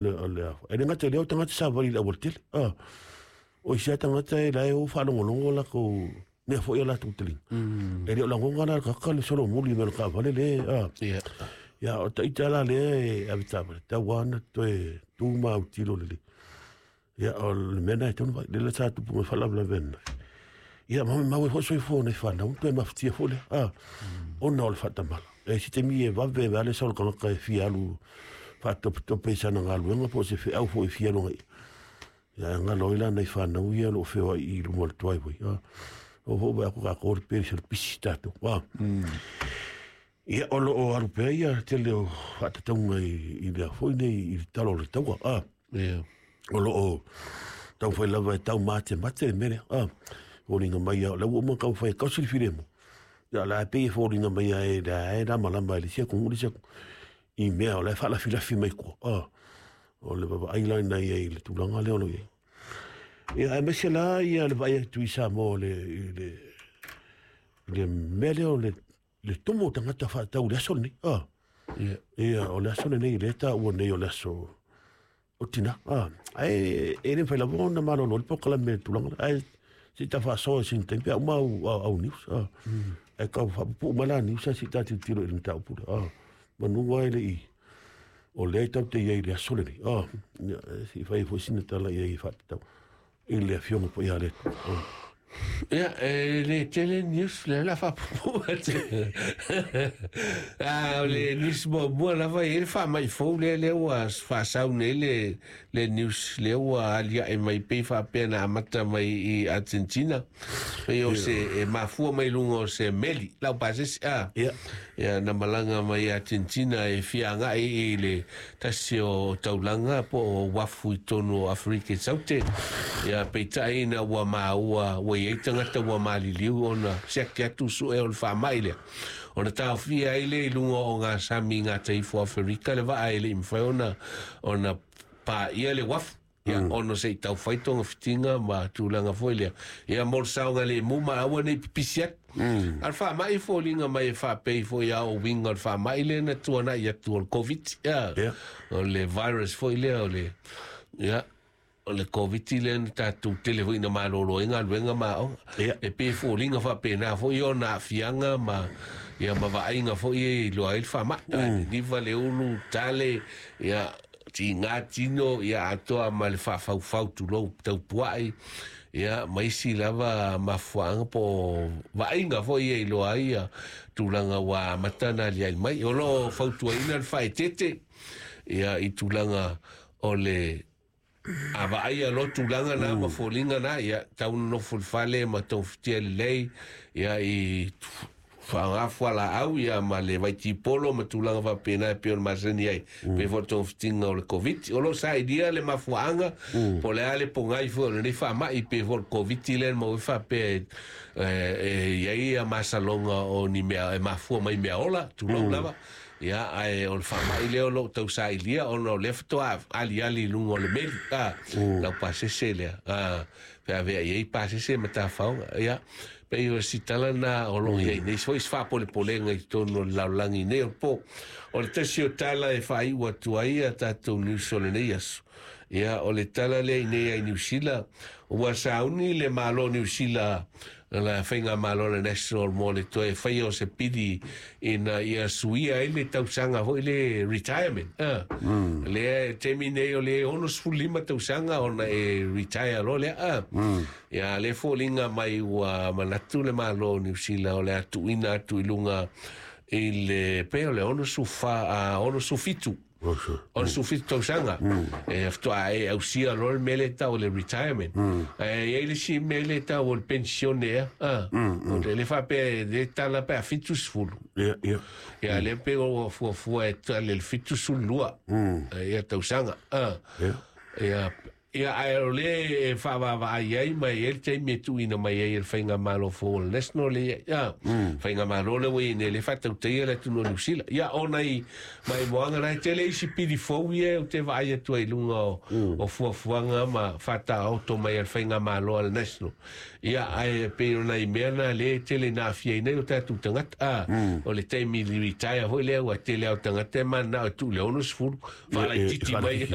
E le gata i lea o tagata savali i le aualatele. O isi lava tagata e la e o faalogologo latou mea foi a latou taliga. E le o lagona la le tagata le solomuli mai o le taavale lea. Ia o ita la lea e avetaavale, tau lava ona toe tu ma autilo lelei. Ia o le mea lena e tatau ona fai, lea sa tupu mai faalavelave ananafi. Ia ma maumau ai foi soifua o nai fanau, toe mafatia foi lea, ona o le faatamala. E se taimi e vave ai le sau o le tagata e fia alu faatopetope i sana galuega po o se feau foi e fia alu agai. Ia e galo ai la nai fanau ia o lo o feoai i luma o le driveway. O foi vaai atu tatou le pele se pisi tatou. Ia o lo o alu pea ia tele o faatatauga i lea foi nei i le tala o le taua. O lo o taumafai lava e taumatemate le mea lea. Foliga mai o lea ua uma ona taumafai e tausi le filemu. Ia o la e pei e foliga mai lava e lea e lamalama e le isi atunuu le isi atunuu i mea o la e faalafilafi mai tua. O le vaavaai la lena i ai i le tulaga lea o lo o i ai. Ia aemaise la ia le vaai atu i Samoa i le mea lea o le tumu o tagata faatau i le aso lenei. Ia o le aso lenei lea e taua nei o le aso o tina. Ae e le mafai lava ona malolo le polokalame i le tulaga lea. Ae se i ta faasoa i sina taimi pe a uma au news. Ae tau faapupuu mai la news ae se i ta tilotilo i le mataupu lea. Manu lava e le i o lea e tatou te i ai i le aso lenei. Ia, se i fai foi sina tala i ai e faatatau i le afioga paia a le Atua. Ia, e le tele news lea la faapuupuu atu. Ah, o le news muamua lava e i ai le faamai fou lea lea ua faasau nei le news lea ua aliae mai pei faapea na amata mai i Argentina. Pei o se e mafua mai luga o se meli lau pasese a. Ia na malaga mai Argentina e fia agai i le tasi o taulaga po o uafu i totonu o Aferika i Saute. Ia peitai ina ua maua ua i ai tagata ua maliliu ona siaki atu sue o le faamai lea. Ona taofia ai lea i luga o ngā sami i gata ifo o Aferika le vaa e le i mafai ona paia le uafu. Ia, ona se i taufai togafitiga ma tulaga foi lea. Ia, mo le saogalemu ma aua ne i pipisi atu. A o le faamai e foliga mai e faapei foi a o uiga o le faamai lea na tuanai atu o le Covid. Ia, o le virus foi lea o le, ia, o le Covid lea na tatou tele foi ina malolo ai galuega ma aoga. E pei e foliga faapena foi ona aafiaga ma, ia, ma vaaiga foi e iloa ai le faamai. Niniva le ulu, tale, ia, tiga tino, ia atoa ma le faafaufau tulou taupuai, ia ma isi lava mafuaaga po o vaaiga foi ia iloa ai ia tulaga ua amata ona aliali mai. O lo o fautuaina le faaeteete ia i tulaga o le a vaaia loa tulaga na ma foliga na, ia tau nonofo i le fale ma togafitia lelei ia i faaaoga fualaau ia ma le vaitipolo ma tulaga faapena e pei ona masani ai. Pei foi o le togafitiga o le Covid. O lo o sailia le mafuaaga po o le a le pogai foi o lenei faamai pei foi o le Covid lea na maua ai faapea e i ai ia masaloga o ni mea e mafua mai mea ola, tulou lava. Ia, ae o le faamai lea o lo o tausailia ona o lea faatoa aliali i luga o le meli, lau pasese lea, feaveai ai pasese ma tafaoga. Ia, pei o si tala na o lo o i ai nei foi se faapolepolega i totonu o le lalolagi nei o le po. O le tasi o tala e faaiu atu ai a tatou news o lenei aso, ia, o le tala lea i nei ai Niu Sila, ua sauni le Malo o Niu Sila la faigamalo le National mo le toe faia o se pili ina ia suia ai le tausaga foi le retirement. Lea e taimi nei o le 65 tausaga ona e retire loa lea. Ia le foliga mai ua manatu le Malo o Niu Sila o le a tuuina atu i luga i le pei o le 64, 67. O le 17 tausaga e faatoa e ausia loa le mea lea e tau o le retirement. Ae i ai le isi mea lea e tau o le pensione ea. O le faapea e tala pe a 70. Ia, ia. Ia, lea pei ua fuafua e tala i le 72 ia tausaga. Ia, ia, ae o le e faavaavaai ai ma e i ai le taimi e tuuina mai ai e le faigamalo fou o le National le ia, faigamalo le ua i ai nei le faatautaia le atunuu o Niu Sila. Ia, ona i maimoaga la e tele isi pili fou ia ou te vaai atu ai i luga o fuafuaga ma faataoto mai a le faigamalo a le National. Ia, ae pei o nai mea na lea e tele ina aafia ai nei o tatou tagata. O le taimi i le retire foi lea ua tele lava o tagata e mananao e tuu i le 60, faalaitiiti mai.